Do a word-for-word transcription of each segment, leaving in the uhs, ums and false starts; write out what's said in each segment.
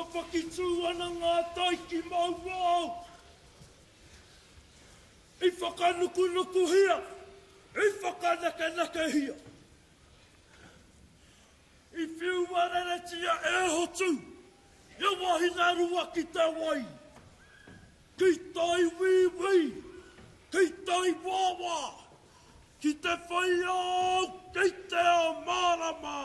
Papakitū ana ngā tai ki Mauao. I whakanukunukuhia, i whakanekenekehia. I whiua reretia e Hotu, ia wahine rua ki te wai. Ki tai wīwī, ki tai wāwā, ki te whai ao, ki te ao mārama.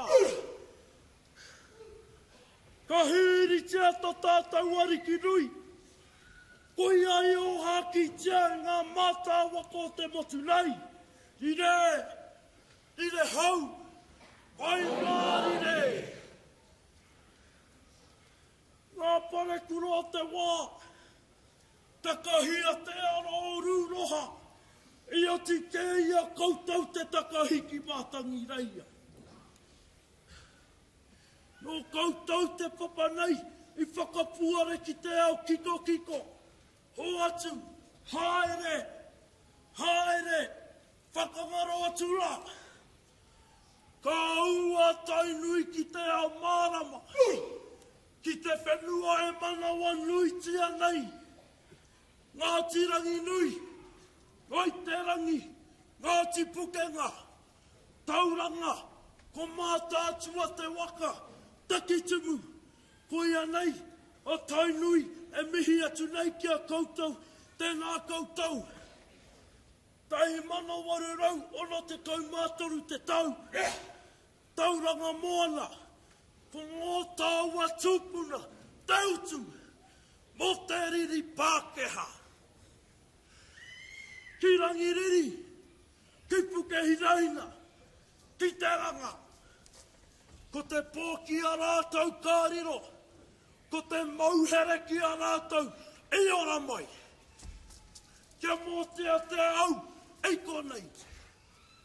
Ka hīritia tō tātou ariki nui, koia i ōhākītia e ngā mātāwaka o te motu nei, rire, rire hau, waimārire. Ngā parekura o te wā, takahia te ara o Rūroha, i oti kē i a koutou te takahi ki Mātangireia. Nō koutou te papa nei i whakapuare ki te ao kikokiko. Hoatu, haere, haere, whakangaro atu rā. Ka ū a Tainui ki te ao mārama, ki te whenua e manawanuitia nei. Ngāti Ranginui, Ngāi Te Rangi, Ngāti Pukenga, Tauranga, ko Mātaatua te waka, Takitimu, koia nei a Tainui e mihi atu nei ki a koutou, tēnā koutou. Tahi mano waru rau ono tekau mā toru te tau, Tauranga Moana, ko ngō tāua tūpuna te utu mō te riri Pākehā. Ki Rangiriri, ki Pukehinaina, ki Te Ranga. Ko te pō ki a rātou ka riro, ko te mauhere ki a rātou i ora mai. Kia mōteatea au i konei.